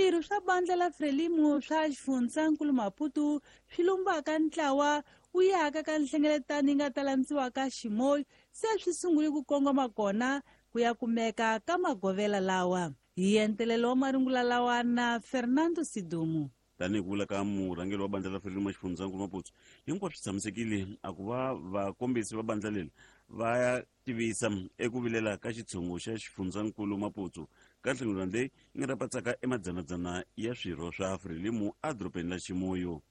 Swirho swa bandla la Frelimo swa xifundzankulu Maputo swi lumbaka ntlawa wu yaka ka nhlengeletano yi nga ta landziwaka Chimoio se swi sungule ku kongoma kona ku ya kumeka ka magovela lawa. Hi entelelo wa marungula lawa na Fernando Sidumo. Tanihi ku vula ka murhangeri wa bandla ra Frelimo xifundzankulu Maputo, hinkwaswo swi tshamisekile a ku va vakombisi va bandla leri va ya tivisa eku vilela ka xitshungu xa xifundzankulu Maputo ka nhlengeletano leyi yi nga ta patsaka emadzanadzana ya swirho swa Frelimo edorobeni la Chimoio.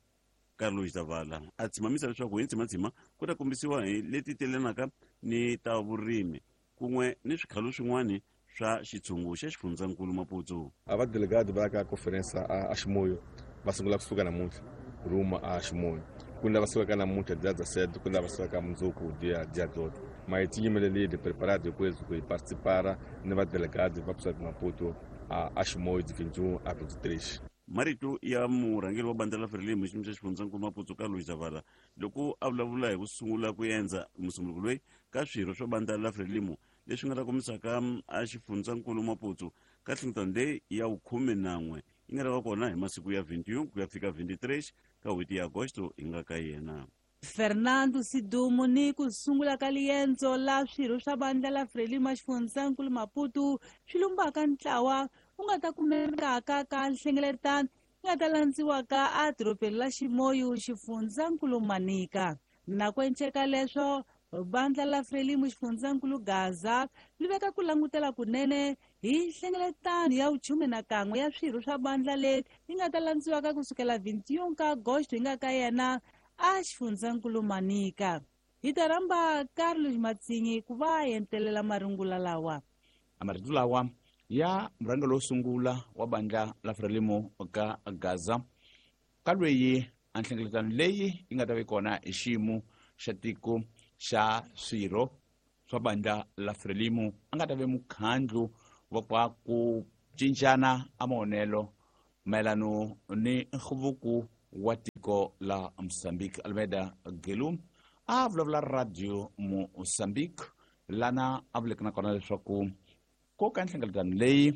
Carlos Zavala a tshimamisa leswaku hi ntshimatshima ku ta kombisiwa hi leti telanaka ni ta vurimi kun'we ni swikhalo swin'wana swa xitshungu xa xifundzankulu Maputo. A va delegado va ya ka conference a Chimoio va sungula kusuka namuntlha rumo a Chimoio. Ku ni lava sukaka namuntlha dia 17, ku ni lava sukaka mundzuku dia 12. Mas tinyimelelile preparado depois ku participar ni va delegado va kusuka Maputo a Chimoio de 21 a 23. Marito ya murhangeri wa bandla la Frelimo xiyimo xa xifundzankulu Maputo Carlos Zavala loko a vulavula hi ku sungula ku endza musunguluko loyi ka swirho swa bandla la Frelimo leswi nga ta kombisaka a xifundzankulu Maputo ka nhlengeletano leyi ya vukhume nan'we yi nga ta va kona hi masiku ya 21 ku ya fika 23 ka n'hweti ya Agosto hi nga ka yena. Fernando Sidumo ni ku sungula ka liendzo la swirho swa bandla la Frelimo xifundzankulu Maputo swi lumbaka ntlawa wu nga ta kumekaka ka nhlengeletano yi nga ta landziwaka edorobeni la Chimoio xifundzankulu Manica. Na ku enceka leswo bandla la Frelimo xifundzankulu Gaza li veka ku langutela kunene hi nhlengeletano ya vuchume na kan'we ya swirho swa bandla leri yi nga ta landziwaka kusukela 21 ka Agosto hi nga ka yena a xifundzankulu Manica. Hi ta rhamba Carlos Matsinyi ku va entelela marungula lawa. Marito lawa ya murhangeri wo sungula wa bandla la Frelimo ka Gaza ka lweyi a nhlengeletano leyi yi nga ta va kona hi xiyimo xa tiko xa swirho swa bandla la Frelimo a nga ta ve mukhandlu wa kwa ku cincana a maonelo mayelano ni nhluvuko wa tiko la Mozambique. Almeida Gelum a vulavula radio Mozambique lana a vuleke na kona leswaku ko ka nhlengeletano leyi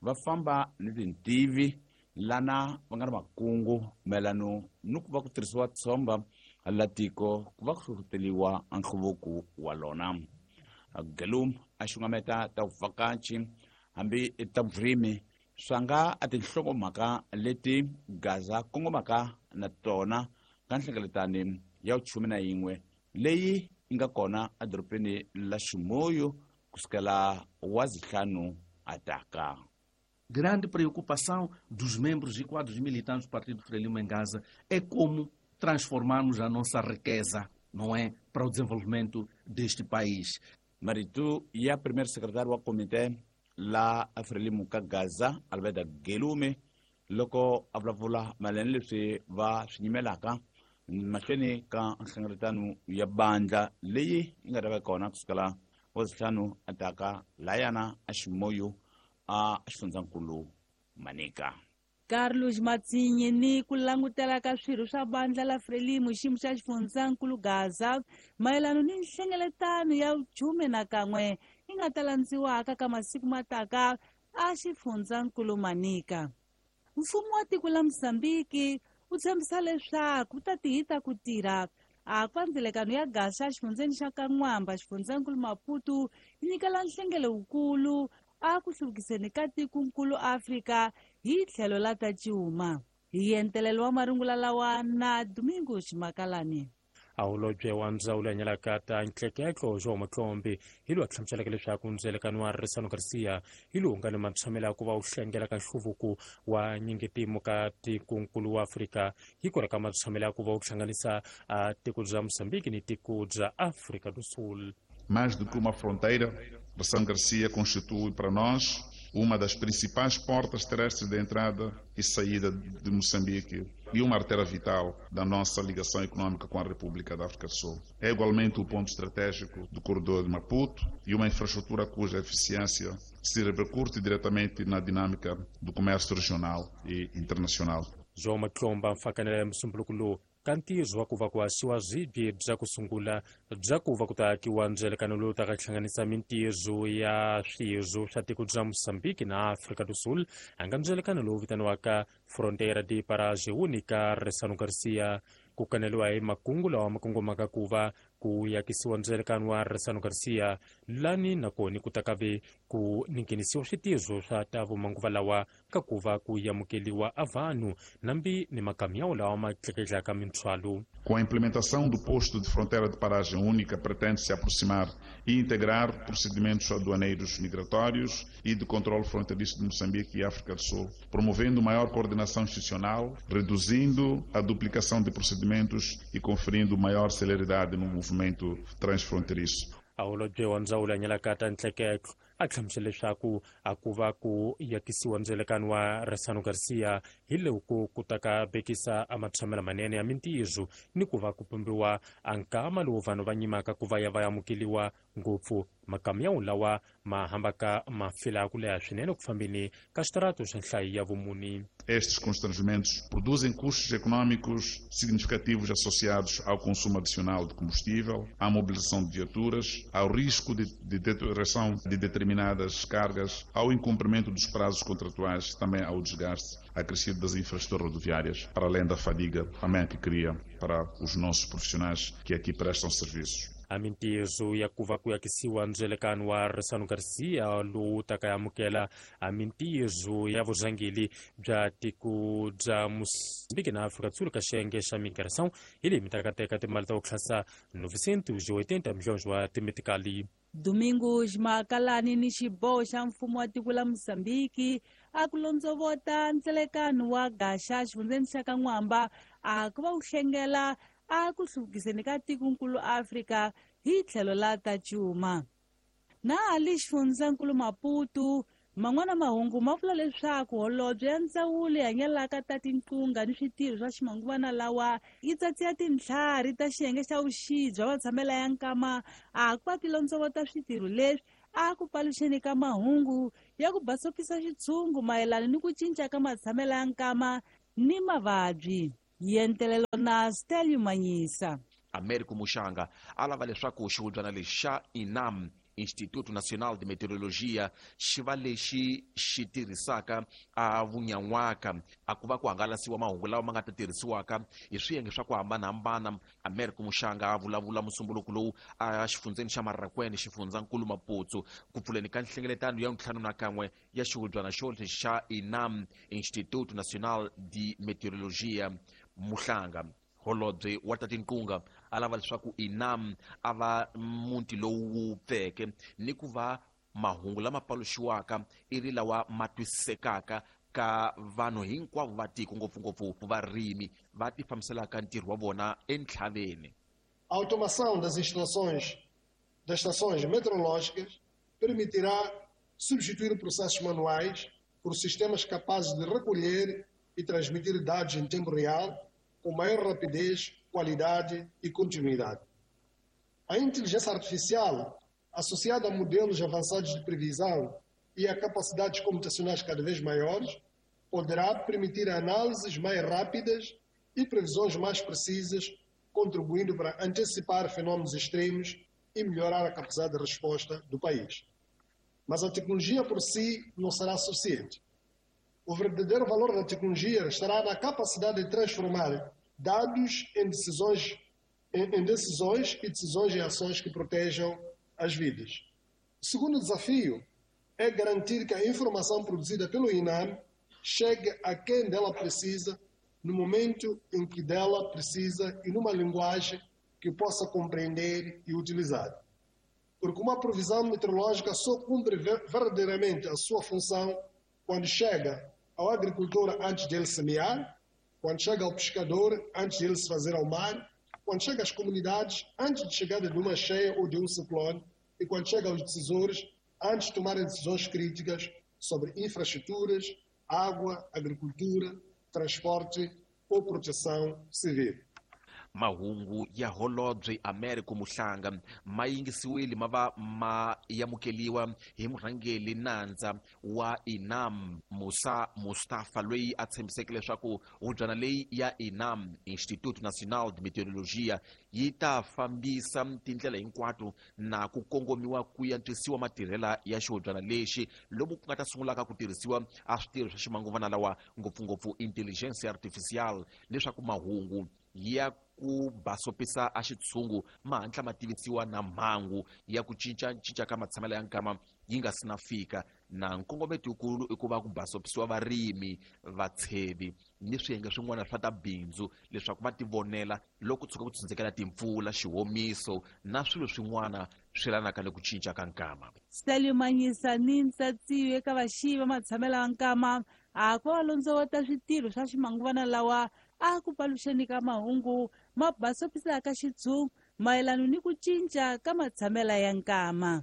va famba ni tintivi lana va nga na makungu mayelano ni ku va ku tirhisiwa tshomba la tiko ku va ku hlohloteriwa nhluvuko wa lona. Gelum a xungameta ta vuvhakachi hambi ta vurimi swa nga a tinhlokomhaka leti Gaza kongomaka na tona ka nhlengeletano ya vuchume na yin'we leyi yi nga kona edorobeni la Chimoio kusukela wa zihlanu ataka. Grande preocupação dos membros e quadros militantes do Partido Frelimo em Gaza é como transformarmos a nossa riqueza, não é, para o desenvolvimento deste país. Marito ya primeiro secretário wa komite la Frelimo ka Gaza Alberta Gelume loko a vulavula mayelana leswi va swi nyimelaka mahlweni ka nhlengeletano ya bandla leyi yi nga ta va kona kusukela wa zihlanu ataka layana a Chimoio a xifundzankulu Manica. Carlos Matsinyi ni ku langutela ka swirho swa bandla la Frelimo xiyimo xa xifundzankulu Gaza mayelano ni nhlengeletano ya vuchume na kan'we yi nga ta landziwaka ka masiku mataka a xifundzankulu Manica. Mfumo wa tiko la Mozambique wu tshembisa leswaku wu ta tihita ku tirha a kwa ndzelekano ya gasi exifundzeni xa Kan'wamba xifundzankulu Maputo yi nyikela nhlengelo wukulu a ku hluvukiseni ka tikonkulu Afrika hi tlhelo la ta cuma. Hi entelelo wa marungula lawa na Domingos Makalani. Holobye wa ndzawulo ya nyalaka ta ntleketlo João Matlombe hi loyi a hlamuseleke leswaku ndzelekano wa Risano Garcia hi lowu nga ni matshamelo ya ku va wu hlengela ka nhluvuko wa nyingitimo ka tikonkulu wa Afrika hi kona ka matshamelo ya ku va wu hlanganisa tiko bya Mozambique ni tiko bya Afrika do Sul. Mais do que uma fronteira, Ressano Garcia constitui para nós uma das principais portas terrestres de entrada e saída de Moçambique e uma artéria vital da nossa ligação econômica com a República da África do Sul. É igualmente o ponto estratégico do corredor de Maputo e uma infraestrutura cuja eficiência se repercute diretamente na dinâmica do comércio regional e internacional. João Matlomba mfakanela ya musumbuluko lowu ka ntirho wa ku va ku haxiwa swibye bya ku sungula bya ku va ku ta akiwa ndzelekano lowu taka hlanganisa mintirho ya swirho swa tiko bya Mozambique na Afrika do Sul a nga ndzelekano lowu vitaniwaka Fronteira de Paragem Única Ressano Garcia. Ku kaneliwa hi makungu lawa ma kongomaka ku va ku yakisiwa ndzelekano wa Ressano Garcia lani nakoni ku ta ve ku ningenisiwa switirho swa ta vumanguva lawa ka ku va ku amukeliwa a vanhu nambi ni makamyawu lawa ma tleketlaka minthwalo. Com a implementação do posto de fronteira de paragem única, pretende-se aproximar e integrar procedimentos aduaneiros migratórios e de controle fronteiriço de Moçambique e África do Sul, promovendo maior coordenação institucional, reduzindo a duplicação de procedimentos e conferindo maior celeridade no movimento transfronteiriço. A holobye wa ndzawulo ya nyalaka ntleketlo a hlamusela leswaku a ku va ku yakisiwa ndzelekano wa Ressano Garcia hi loko ku ta ka bekisa a matshamelo manene ya mintirho ni ku va ku pumbiwa a nkama lowu vanhu va nyimaka ku va ya va amukeliwa ngopfu makamyawu lawa ma hambaka ma fila ku leha swinene ku fambeni ka xitarato xa nhlayo ya vumuni. Estes constrangimentos produzem custos econômicos significativos associados ao consumo adicional de combustível, à mobilização de viaturas, ao risco de deterioração de determinadas cargas, ao incumprimento dos prazos contratuais, também ao desgaste acrescido das infraestruturas rodoviárias, para além da fadiga também que cria para os nossos profissionais que aqui prestam serviços. A mintirho ya ku va ku yakisiwa ndzelekano wa Ressano Garcia lowu taka amukela a mintirho ya vurhangeri bya tiko bya Mozambique na Afrika do Sul ka xiyenge xa migração hi leyi mi taka teka timali ta ku tlhasa 980 milhões wa timetikali. Domingo ximakalani ni xiboho xa mfumo wa tiko la Mozambique a ku londzovota ndzelekano wa gaxa xifundzeni xa ka N'wamba a ku va wu hlengela a ku hluvukiseni ka tikonkulu Afrika hi tlhelo la ta cuma. Na ali xifundzankulu Maputo man'wana mahungu ma vula leswaku holobye ya ndzawulo ya nyalaka ta tinqunga ni switirho swa ximanguvana lawa yi tsatsiya tintlhari ta xiyenge xa vuxi bya vatshamela ya nkama a ku va ti londzovota switirho leswi a ku paluxeni ka mahungu ya ku basopisa xitshungu mayelana ni ku cinca ka matshamela ya nkama ni mavabyi. Yentelelo na Stelio Manyisa. Américo Muxanga a lava leswaku xihubyana lexi xa INAM, Instituto Nacional de Meteorologia, xi va lexi xi tirhisaka a vunyan'waka a ku va ku hangalasiwa mahungu lawa ma nga ta tirhisiwaka hi swiyenge swa ku hambanahambana. Américo Muxanga a vulavula musumbuluko lowu a xifundzeni xa Marrakwene, xifundzankulu Maputo, ku pfuleni ka nhlengeletano ya 51 ya xihubyana xo xa INAM, Instituto Nacional de Meteorologia. Muhlanga holobye wa ta tinqunga a lava leswaku INAM a va muti lowu wu pfeke ni ku va mahungu lama paluxiwaka i ri lawa ma twisisekaka ka vanhu hinkwavo va tiko, ngopfungopfu varimi va ti fambiselaka ntirho wa vona entlhaveni. A automação das instalações das estações meteorológicas permitirá substituir processos manuais por sistemas capazes de recolher e transmitir dados em tempo real, com maior rapidez, qualidade e continuidade. A inteligência artificial, associada a modelos avançados de previsão e a capacidades computacionais cada vez maiores, poderá permitir análises mais rápidas e previsões mais precisas, contribuindo para antecipar fenômenos extremos e melhorar a capacidade de resposta do país. Mas a tecnologia por si não será suficiente. O verdadeiro valor da tecnologia estará na capacidade de transformar dados em decisões, em decisões e decisões em ações que protejam as vidas. O segundo desafio é garantir que a informação produzida pelo INAM chegue a quem dela precisa, no momento em que dela precisa e numa linguagem que possa compreender e utilizar. Porque uma previsão meteorológica só cumpre verdadeiramente a sua função quando chega ao agricultor antes dele semear, quando chega ao pescador antes dele se fazer ao mar, quando chega às comunidades antes de chegada de uma cheia ou de um ciclone e quando chega aos decisores antes de tomarem decisões críticas sobre infraestruturas, água, agricultura, transporte ou proteção civil. Mahungu ya holobye Americo Muhlanga ma yingisiwile ma va ma yamukeliwa hi murhangeri nandza wa INAM Musa Mustafa, loyi a tshembiseke leswaku hubyana leyi ya INAM, Instituto Nacional de Meteorologia, yi ta fambisa tindlela hinkwato na ku kongomiwa ku antswisiwa matirhela ya xihubyana lexi, lomu ku nga ta sungulaka ku tirhisiwa a switirho swa ximanguvana lawa, ngopfungopfu intelligence artificial, leswaku mahungu ya ku basopisa a xitshungu ma hatla ma tivisiwa na mhangu ya ku cincacinca ka matshamelo ya nkama yi nga si na fika. Na nkongometo wukulu i ku va ku basopisiwa varimi, vatshevi ni swiyenge swin'wana swa ta bindzu leswaku va tivonela loko tshuka ku tshundzekela timpfula, xihomiso na swilo swin'wana swi yelanaka ni ku cinca ka nkama. Salimanyisa ni ntsatsiyo eka vaxiyi va matshamelo ya nkama a ku va londzovota switirho swa ximanguvana lawa a ku paluxeni ka mahungu ma basopisaka xitshungu mayelana ni ku cinca ka matshamelo ya nkama.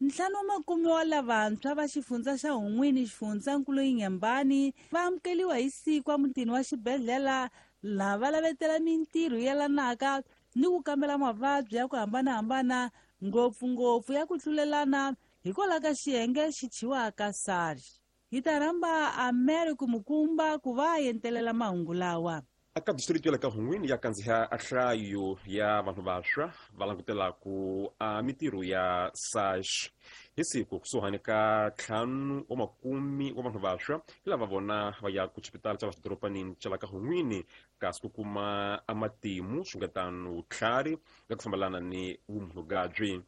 5 wa makume wa lavantshwa va xifundza xa Hun'wini, xifundzankulu Inhambane, va amukeliwa hi siku emutini wa xibedhlele laha va lavetela mintirho yelanaka ni ku kambela mavabyi ya ku hambanahambana, ngopfungopfu ya ku tlulelana hikwalaho ka xiyenge xi thyiwaka SARS. Hi ta rhamba Americo Mukumba ku va a entelela mahungu lawa. Eka district ya le ka Hun'wini ya kandziha a nhlayo ya vanhu vantshwa va langutelaku a mintirho ya SARS. Hi siku kusuhani ka 5 wa makume wa vanhu vantshwa hi lava vona va ya ku xipitala xa la xidorobanini xa la ka Hun'wini, kasi ku kuma a matimu xungetano vutlhari ya ku fambelana ni vumunhugabyi.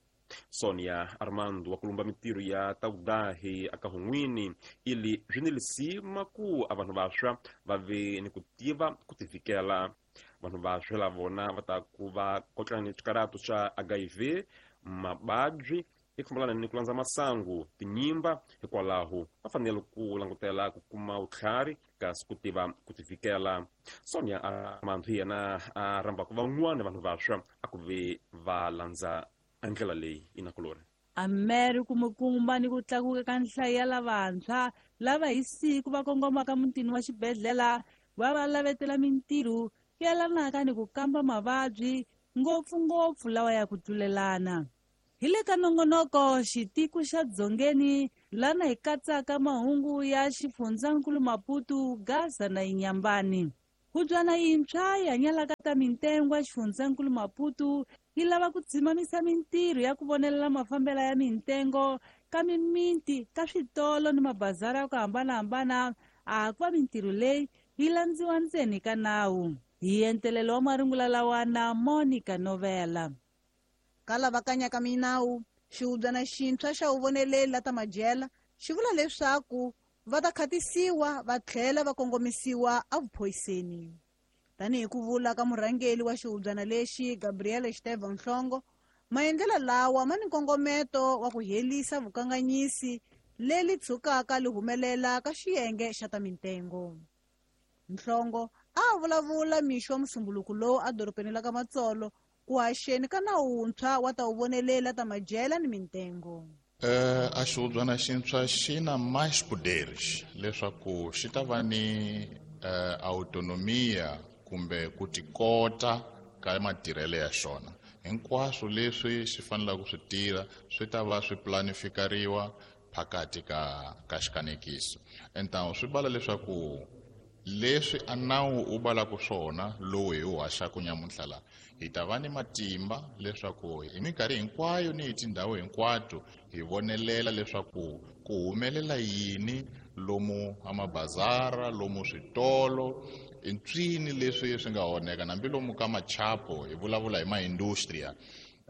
Sonia Armando wa kulumba mintirho ya ta vudahi aka Hun'wini ili swi ni lisima ku a vanhu vantshwa va ve ni ku tiva ku tivikela. Vanhu vantshwa la vona va ta ku va kotlana ni xikarato xa HIV, mababyi eku fambelana ni ku landza masangu, tinyimba, hikwalaho va fanele ku langutela ku kuma vutlhari kasi ku tiva ku tivikela. Sonia Armando hi yena a rhambaka van'wana vanhu vantshwa a ku ve va landza ndlela leyi inakulori. Americo Mukumba ni ku tlakuka ka nhlayo ya lavantshwa lava hi siku va kongomaka mutini wa xibedhlele va va lavetela mintirho yelanaka ni ku kamba mavabyi, ngopfungopfu lawa ya ku tlulelana. Hi le ka nongonoko xitiko xa Dzongeni lana hi katsaka mahungu ya xifundzankulu Maputo, Gaza na Inhambane. Hubyana yintshwa yi hanyalaka ta mintengo ya xifundzankulu Maputo yi lava ku dzimamisa mintirho ya ku vonelela mafambelo ya mintengo ka mimiti, ka switolo ni mabazara ya ku hambanahambana, a ku va mintirho leyi yi landziwa ntseni ka nawu. Hi entelelo wa marungula lawa na Monica Novela. Ka lava kanyaka minawu, xihubyana xintshwa xa vuvoneleli la ta madyela xi vula leswaku va ta khatisiwa va tlhela va kongomisiwa evuphoyiseni. Tanihi ku vula ka murhangeri wa xihubyana lexi Gabriel Estevan Nhlongo, maendlelo lawa ma ni nkongometo wa ku herisa vukanganyisi leri tshukaka li humelela ka xiyenge xa ta mintengo. Nhlongo a vulavula mixo wa musumbuluku lowu edorobeni la ka Matsolo ku haxeni ka nawu wuntshwa wa ta vuvonelela ta madyela ni mintengo. A xihubyana xintshwa xi na mais poderes leswaku xi ta va ni autonomia kumbe ku tikota ka matirhelo ya xona. Hinkwaswo leswi xi fanelaka ku swi tirha swi ta va swi planifikariwa phakati ka xikanekiso. Então swi vala leswaku leswi a nawu wu valaka swona lowu hi wu haxaka nyamuntlha la, hi ta va ni matimba leswaku hi minkarhi hinkwayo ni hi tindhawu hinkwato hi vonelela leswaku ku humelela yini lomu a mabazara, lomu switolo, i ntswini leswi swi nga onheka, hambi lomu ka machapo hi vulavula hi maindustria.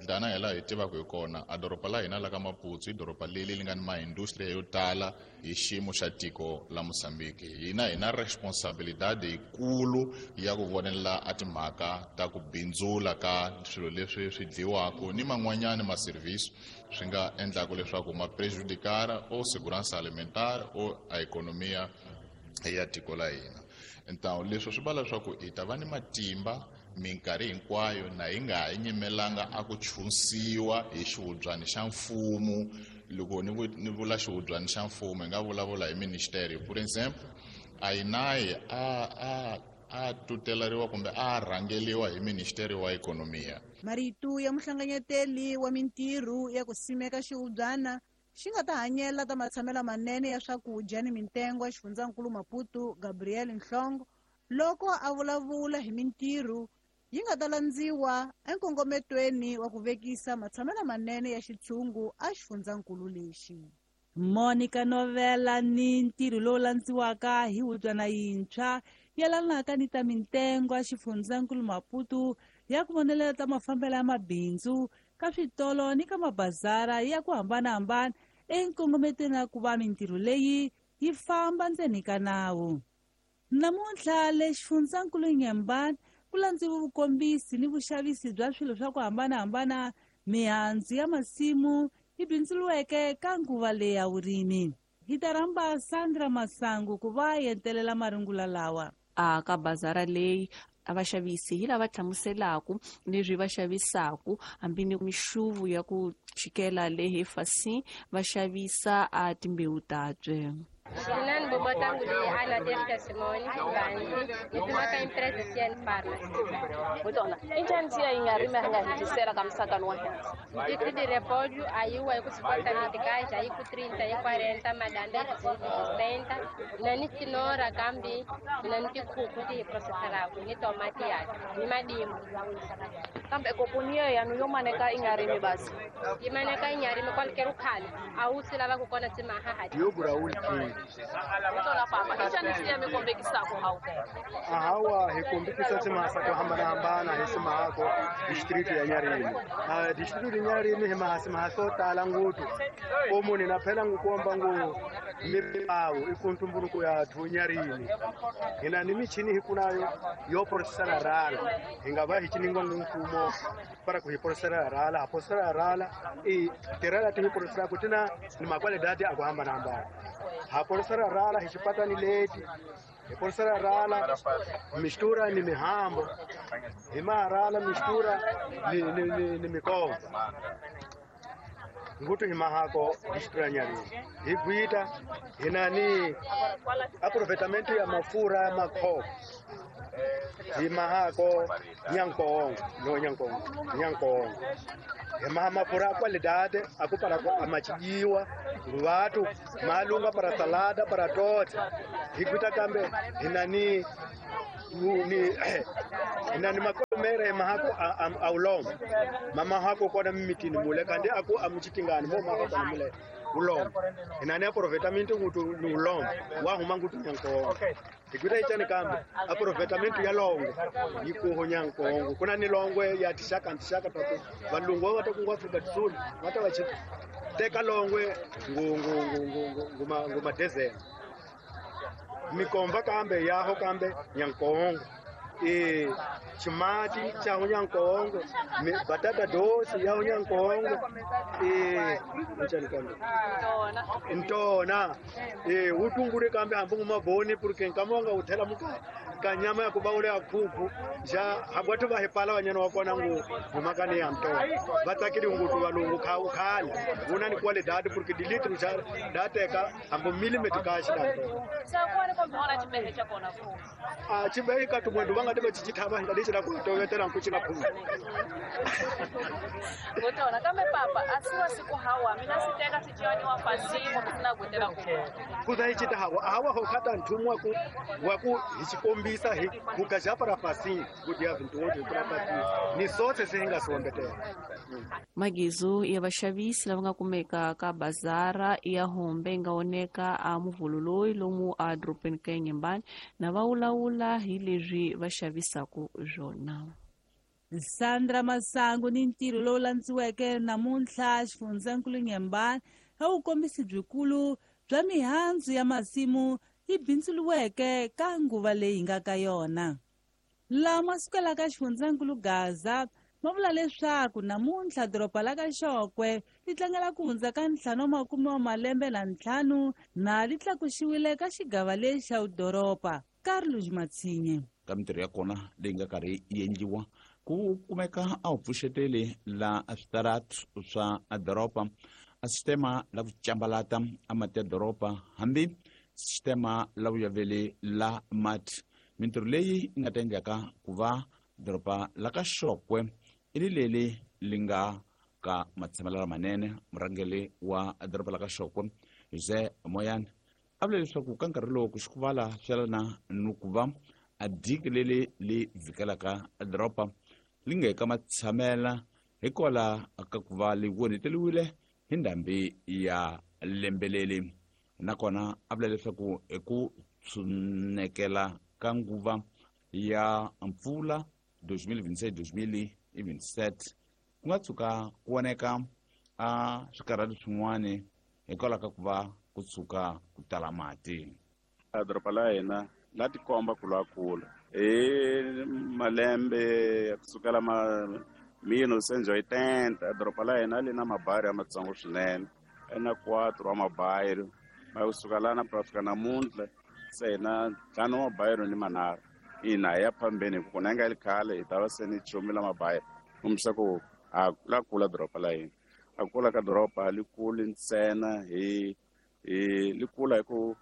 Tana hi laha hi tivaka hi kona, a doroba la hina la ka Maputo i doroba leri li nga ni maindustria yo tala hi xiyimo xa tiko la Mozambique. Hina hi na responsabilidade yikulu ya ku vonelela a timhaka ta ku bindzula ka swilo leswi swi dliwaka ni man'wanyani ma-service swi nga endlaka leswaku ma prejudicare o segurança alimentar o a economia ya tiko la hina. Então leswi swi vula leswaku hi ta va ni matimba minkarhi hinkwayo na hi nga ha nyimelanga a ku chunsiwa hi xihubyana xa mfumo. Loko ni vula xihubyana xa mfumo hi nga vulavula hi ministeri. For example, a yi nayi A tutelariwa kumbe a rhangeliwa hi Ministeri wa Ekonomiya. Marito ya muhlanganyeteli wa mintirho ya ku simeka xihubyana xi nga ta hanyela ta matshamelo manene ya swakudya ni mintengo ya xifundzankulu Maputo, Gabriel Nhlongo, loko a vulavula hi mintirho yi nga ta landziwa enkongometweni wa ku vekisa matshamelo manene ya xitshungu a xifundzankulu lexi. Monica Novela ni ntirho lowu landziwaka hi hubyana yintshwa yelanaka ni ta mintengo ya xifundzankulu Maputo ya ku vonelela ta mafambelo ya mabindzu ka switolo ni ka mabazara ya ku hambanahambana enkongometweni ya ku va mintirho leyi yi famba ndzeni ka nawu. Namuntlha le xifundzankulu Nyembani ku landziwe vukombisi ni vuxavisi bya swilo swa ku hambanahambana, mihandzu ya masimu yi bindzuriweke ka nguva leyi ya vurimi. Hi ta rhamba Sandra Masangu ku va entelela marungula lawa. A ka bazara leyi a vaxavisi hi lava hlamuselaku leswi va xavisaku, hambi ni mixuvu ya ku chikela le hefasi va xavisa a timbewu tabye. Mina ni bobotangu leyi Ana Terika Simoni Gandhi ni tumaka empresa CN Pharmacy. Mutona, i njhani siya yi nga rimi a nga hetisela ka musakano wa hina? Litro de repolho aí o aí com 50 meticais, aí com 30, aí 40, madanda aí com 60, na ni cenoura kambi, na ni tikhuku ti hi processelaku, ni tomati ya, ni madimbu. Kambe kopuniya yanu yo maneka i nga rimi basi. Yi maneka i nga rimi qualquer khale, a wu swi lava ku kona swi maha. Diogo Raul King. Mutona papa, i njhani siya mi kombekisaku hawu? Hawa hi kombekisa timhaka to hambanahambana hi simahako district ya Nyarimi. District ya Nyarimi hi maha simaha swo tala ngopfu. Ko munhu na phela ngu komba ngu mibawu i ku ntumbuluko ya thu Nyarimi. Hina ni michini hi kunayo yo processela rala. Hi nga va hi chiningwa ngu mfumo para ku hi processela rala, ha processela rala i tirala ti hi processela ku tina ni makwalidadi a ku hambanahambana. Ha processela rala hi xipatani leti. Hi processela rala mistura ni mihambo. Hi maharala mistura ni mikombo. Ngutu hi mahako district ya Nyarimi. Hi gwita hina ni aproveitamento ya mafura ya makhoko. Hi mahako Nyankongo, no Nyankongo, Nyankongo. Hi maha mafura a qualidade aku para amachijiwa vatu malunga para salada para tote. Hi gwita kambe hina ni hina ni makomere mahako a ulongo. Mama hako kona mimitini mule kandi aku amuchitingani mo mahako kona mule ulongo. Hina ni aproveitamento ngutu ni ulongo wa huma ngutu Nyankongo. Hikuta ichani kambe aproveitamento ya longo yikuho Nyankongo. Kuna ni longwe ya tishaka ntishaka tatu valungu wa takungu Afrika do Sul wata wachiteka longwe ngu ngu ngu madezela. Mikomba kambe yaho kambe Nyankongo. Chimati cha Nyankongo, batata doce ya Nyankongo, nchani kambe. Ntona. Utungure kambe hambu maboni porque nkamwanga uthela muka kanyama ya kubaule ya khuku ja habwatu va hepala wanyana wa kona ngu ngumakani ya ntona. Vatsakiri ngutu valungu kha ukhale. Una ni qualidade porque de litro ja dateka hambu millimeter kashi da ntona. Sa kwani kombe ona chibehe cha kona ku. A chibehe ka tumwendo vanga tiba chichithava nga lichira ku tovetela nkuchika phuma. Ngotona kambe papa asiwa siku hawa mina siteka sichiwani wa fasimu kusina gutela ku. Kuza ichita hawa hawa hokata nthumwa ku waku hichikombisa hi kukaja para fasimu kuti ya vintu wote para fasimu ni sote sihinga sombetela. Magizo ya vaxavisi lava nga kumeka ka bazara ya Hombe yi nga oneka a muvhulu loyi lomu a dorobeni ka Nyembani na va wulawula hi leswi va xavisaka swona. Sandra Masangu ni ntirho lowu landziweke namuntlha xifundzankulu Nyembani a wukombisi byikulu bya mihandzu ya masimu yi bindzuriweke ka nguva leyi nga ka yona. Lama sukelaka xifundzankulu Gaza ma vula leswaku namuntlha doroba la ka Xokwe ri tlangela ku hundza ka 55 na ri tlakuxiwile ka xigava lexi xa vudoroba. Carlos Matsinye. Ka mintirho ya kona leyi nga karhi yi endliwa ku kumeka a wu pfuxeteli la switaratu swa doroba, a sistema la ku cambalata a mati ya doroba, hambi sistema la vuyaveli la mati. Mintirho leyi yi nga ta endlaka ku va doroba la ka Xokwe i ri leli li nga ka matshamelo lamanene. Murhangeri wa doroba la ka Xokwe Jose Moyane a vula leswaku ka nkarhi lowu ku xikuvala swelana ni ku va a diki leli li vhikelaka doroba li nga eka matshamela hikwalaho ka ku va li onheteriwile hi ndhambi ya lembeleli. Nakona a vula leswaku hi ku tshunekela ka nguva ya mpfula 2026-2027 ku nga tshuka ku voneka a swikarhati swin'wana hikwalaho ka ku va ku tshuka ku tala mati. A doroba la hina la tikomba ku lwa kula hi malembe ya kusukela ma 1980. Doroba la hina li na mabayiro ya matsongo swinene, na 4 wa mabayiro ma kusuka lana ku fika namuntlha se hina 5 wa mabayiro ni manharhu. Ina hi ya phambeni hi ku kona nga li khale hi ta va se ni chumi la mabayiro kombisa ku a la kula doroba la hina. A kula ka doroba li kuli ntsena hi li kula hi ku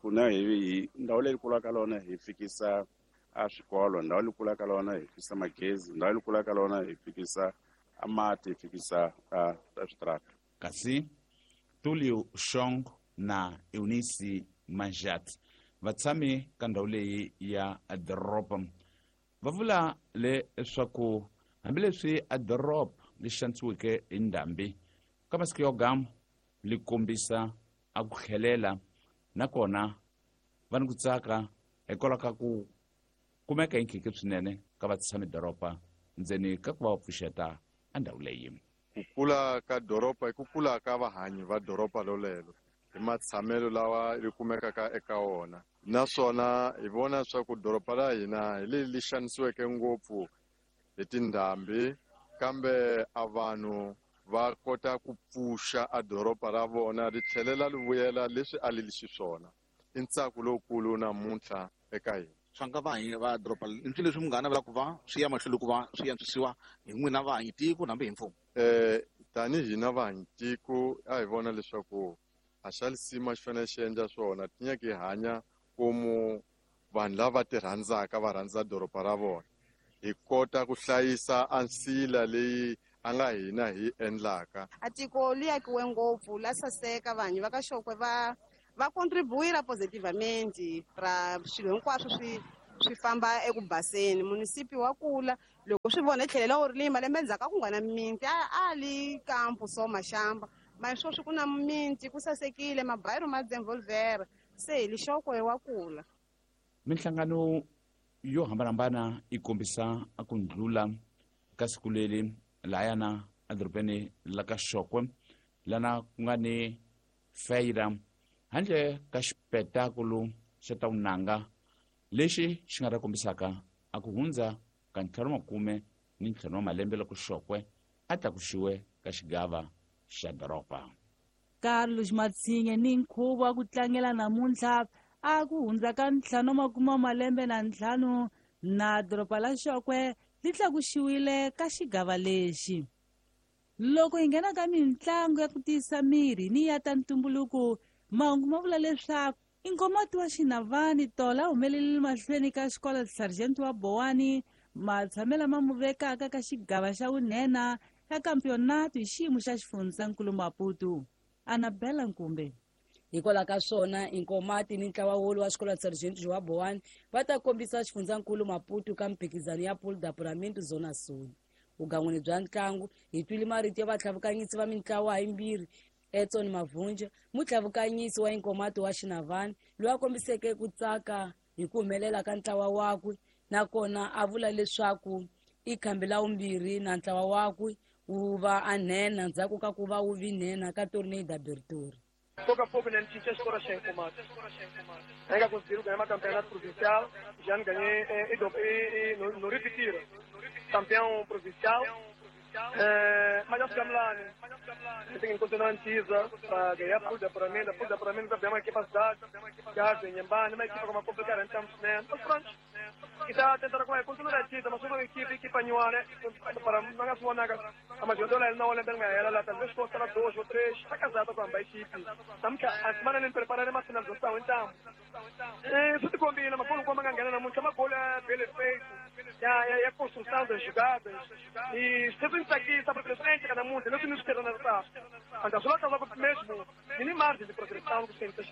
kuna hi ndhawu leyi kulaka lona hi fikisa a swikolo, ndhawu leyi kulaka lona hi fikisa magezi, ndhawu leyi kulaka lona hi fikisa a mati, hi fikisa a switarata. Kasi Tulio Shong na Eunice Manjat vatshami ka ndhawu leyi ya doroba va vula leswaku hambileswi a doroba li xanisiweke hi ndhambi ka masiku yo gama li kombisa a ku tlhelela, nakona va ni ku tsaka hikwalaho ka ku kumeka hi nkhinkhi swinene ka vatshami doroba ndzeni ka ku va va pfuxeta a ndhawu leyi. Ku kula ka doroba i ku kula ka vahanyi va doroba lolelo hi matshamelo lawa ri kumekaka eka wona, naswona hi vona leswaku doroba la hina hi leri li xanisiweke ngopfu hi tindhambi, kambe a vanhu va kota ku pfuxa a doroba ra vona ri tlhelela ri vuyela leswi a li li xiswona. I ntsako lowukulu namuntlha eka hina. Swa nga vahanyi va doroba i swilo leswi munghana vula ku va swi ya mahlweni ku va swi antswisiwa hi n'wina vahanyi tiko hambi hi mfumo. Tanihi hina vahanyi tiko a hi vona leswaku a xa lisima xi fanele xi endla swona, ti nyaka hi hanya komu vanhu lava ti rhandzaka va rhandza doroba ra vona, hi kota ku hlayisa a nsila leyi a nga hina hi endlaka. A tiko li akiwe ngopfu la saseka, vanhu va ka Xokwe va contribuira positivamente ra swilo hinkwaswo swi famba eku baseni. Munisipi wa kula loko swi vona tlhelela wu ri lima lembe ndzhaku a ku nga na mimiti a li kampo so maxamba ma sweswi ku na mimiti ku sasekile mabayiro ma devolver se hi lixokwe wa kula. Minhlangano yo hambanahambana yi kombisa ku ndlula ka siku leri layana edorobeni la ka Xokwe lana ku nga ni feira handle ka xipetakulu xa ta vunanga lexi xi nga ta kombisaka a ku hundza ka 55 wa malembe loko Xokwe a tlakuxiwe ka xigava xa doroba. Carlos Matsinye ni nkhuvo wa ku tlangela namuntlha a ku hundza ka 55 na doroba la Xokwe li tlakuxiwile ka xigava lexi. Loko hi nghena ka mintlangu ya ku tiyisa miri ni ya ta ntumbuluko, mahungu ma vula leswaku Inkomati wa Xinavani Tola humelelile mahlweni ka xikolo Sergeant wa Bowani matshamela ma muvekaka ka xigava xa vunhena ya kampionato hi xiyimo xa xifundzankulu Maputo. Annabella Nkumbe. Hikwalaho ka swona Inkomati ni ntlawa wolowo wa xikolo Sergeant wa Bowani va ta kombisa xifundzankulu Maputo ka mphikizano ya Pool d'Apuramento Zona Sul. Vugan'wini bya ntlangu hi twile marito ya vatlhavukanyisi va mintlawa yimbirhi Edson Mavunja, mutlhavukanyisi wa Inkomati wa Xinavani, loyi a kombiseke ku tsaka hi ku humelela ka ntlawa wakwe, nakona a vula leswaku i khambi la vumbirhi na ntlawa wakwe wu va a nhenha ndzhaku ka ku va wu vi nhenha ka Torneio d'Abertura. Pouco a pouco, né, tinha escola sem Inkomati. Ainda conseguiram ganhar uma campeonato provincial, já ganhei e não repetiram. Campeão provincial, mas nós chegamos lá, né? Tem que continuar antiza para ganhar pool de apuramento. Pool de apuramento também é uma equipa cidade, Gaza, Inhambane, uma equipa como complicada, então, né? Mas pronto, e está tentando continuar antiza, mas uma equipe anual, né? Para não ganhar a jogadora não olha bem ela talvez custa 2 ou 3, está casada com a equipe. Estamos a semana nem preparar uma finalização, então. Isso te combina, mas quando como ganhar muito, uma bola bem feito, e a construção das jogadas. E se você aqui está presente cada mundo, não se nos quer na taça. Mas só está mesmo, nem margem de progressão que tem que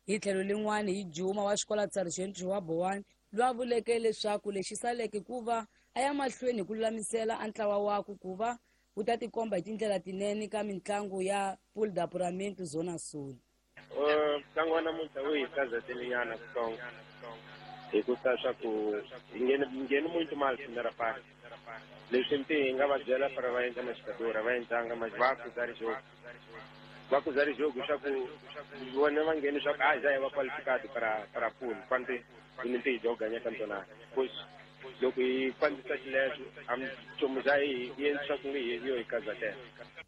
Hi tlhelo lin'wana hi Juma wa xikola Sargent Joa Bowani loyi a vuleke leswaku lexi saleke ku va a ya mahlweni hi ku lulamisela a ntlawa wakwe ku va wu ta tikomba hi tindlela tinene ka mitlangu ya Pool de Apuramento Zona Sul. Ntlangu wa namuntlha wu hi kazatelinyana kutsongo hikusa swa ku hi ngheni muito mal primeira parte. Leswi mpi hi nga va byela para va endla maxikadora va endlanga va kuza rijogo va kuza rijogo swa ku vona va ngheni swa ku a já va qualificado para pool quando hi mpi hi joga nya campeonato. Pois loko hi fambisa xileswo a nchumu xa hi endli swa ku nge hi yo hi kazatela.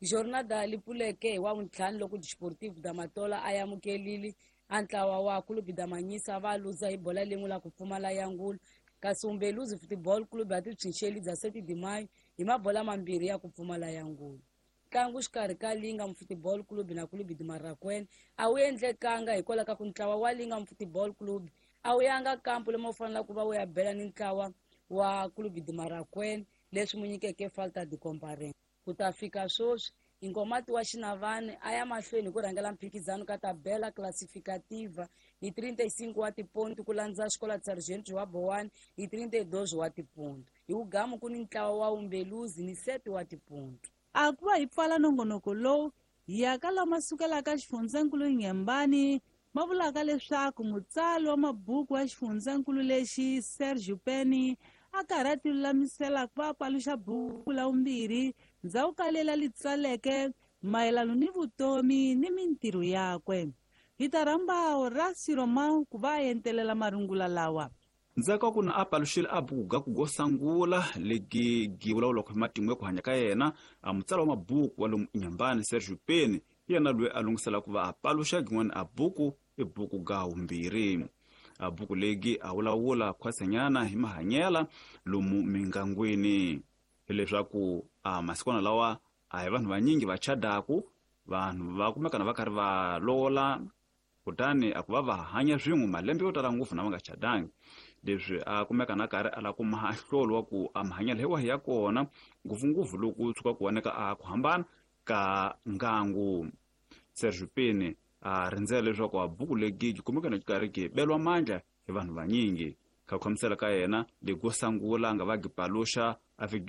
Jornada li pfuleke hi wavuntlhanu loko Desportivo da Matola a amukelile a ntlawa wa Clube da Manhisa va luza hi bola lin'we la ku pfumala ya ngulu kasi Umbeluzi Football Club ya titshunxeli bya 7 de Maio hi mabola mambirhi ya ku pfumala ya ngulu. Ntlangu xikarhi ka Lingam Football Club na Clube de Marraquene a wu endlekanga hikwalaho ka ku ntlawa wa Lingam Football Club a wu yanga kampu lomu wu faneleke ku va wu ya bela ni ntlawa wa Clube de Marraquene leswi mu nyikeke falta de comparence. Ku ta fika sweswi Inkomati wa Xinavani a ya mahlweni hi ku rhangela mphikizano ka tabela classificativa hi 35 wa tiponto ku landza xikola Sargent Joa Bowani hi 32 wa tiponto. Hi wugamu ku ni ntlawa wa Umbeluzi ni 7 wa tiponto. A ku va hi pfala nongonoko lowu hi ya ka lama sukelaka xifundzankulu Inhambane ma vulaka leswaku mutsari wa mabuku wa xifundzankulu lexi Sergio Penny a karhi a ti lulamisela ku va paluxa buku la vumbirhi ndzhaku ka lela li tsaleke mayelano ni vutomi ni mintirho yakwe. Hi ta rhamba Horacio Romão ku va a entelela marungula lawa. Ndzhaku ka ku na a paluxile a buku ga ku go sangula legi gi vulavulaka hi matimu ya ku hanya ka yena a mutsari wa mabuku wa lomu Inhambane Sergio Penny yena loyi a lunghisela ku va a paluxa gin'wana a buku i buku ga vumbirhi. A buku legi a vulavula khwatsenyana hi mahanyela lomu mingangwini hileswaku a masikwana lawa a hi vanhu vanyingi va chadaku vanhu va kumekana va karhi va lola kutani a ku va va hanya swin'we malembe yo tala ngopfu na va nga chadangi. Leswi a kumeka na karhi a lava ku maha hlolo wa ku a mahanyelo hi wahi ya kona ngopfungopfu loko tshuka ku voneka a ku hambana ka ngangu. Sergio Penny a rindzela leswaku a buku legi yi kumeka na karhi ki belwa mandla hi vanhu vanyingi. Ka ku khamisela ka yena lego sangula nga va gi paluxa a fiki